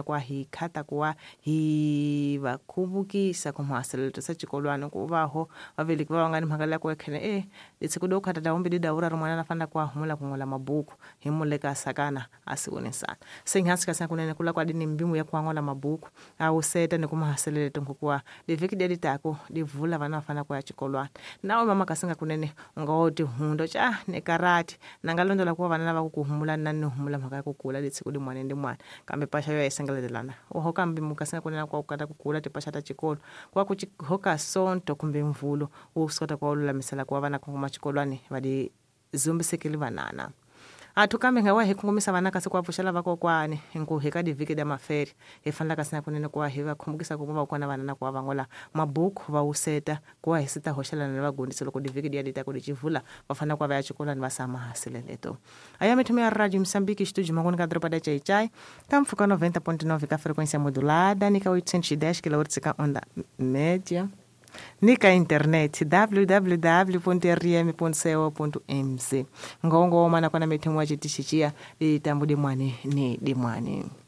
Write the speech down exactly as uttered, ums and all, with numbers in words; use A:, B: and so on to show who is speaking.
A: Kwa hi khata kuwa hi va khuvukisa kumhaselelo sa xikolwana ku va ho vaveleki va va nga ni mhaka leya ku ekhene e litsiko do khata dawumbi di dawura rin'wana na fanele ku a humula ku n'wela mabuku hi muleka sakana a siwonisana se nhansi ka kunene kula kwa dini mbimu ya ku an'wala mabuku a wu seta ni kumahaselelo tonkukuwa livhiki leri tako livula vana va fanele ku ya xikolwana nawe mama kasinga kunene u nga wo tihundo ca ni karati na nga londola ku va vana lava ku ku humula na ni humula mhaka ya ku kula litsiko limwana ni limwana kambe paxa yo yisengeletelana oho kambe mukasinga kunene kwa ku kata ku kula tipaxa ta xikolo kwa ku hoka sonto kumbe mvulo wo swi kota ku va lulamisela ku va vana kongoma xikolwani va di zumbisekeli vanana athu kambe nga wa hi kongomisa vana kasi ku va pfuxela vakokwani hinku hi ka divhiki da maferi hi fanele kasi na kunene ku va hi va khumbukisa ku va va kona vana na ku va van'wala mabuku va wuseta ku va hi sita hoxelana na vagundisi loko divhiki diya di ta ku di civula va fanele ku va va ya xikolwani va sama hasileleto aya mithumo ya radio Moçambique estúdio mangoni ka doroba da Chaichai ka mpfhuka noventa ponto nove ka frequência modulada ni ka oitocentos e dez quilohertz ka onda média ni ka internet w w w ponto r m ponto co ponto m z ngongo mana kwana mithumo wa chitixixiya litambu dimwani ni dimwani.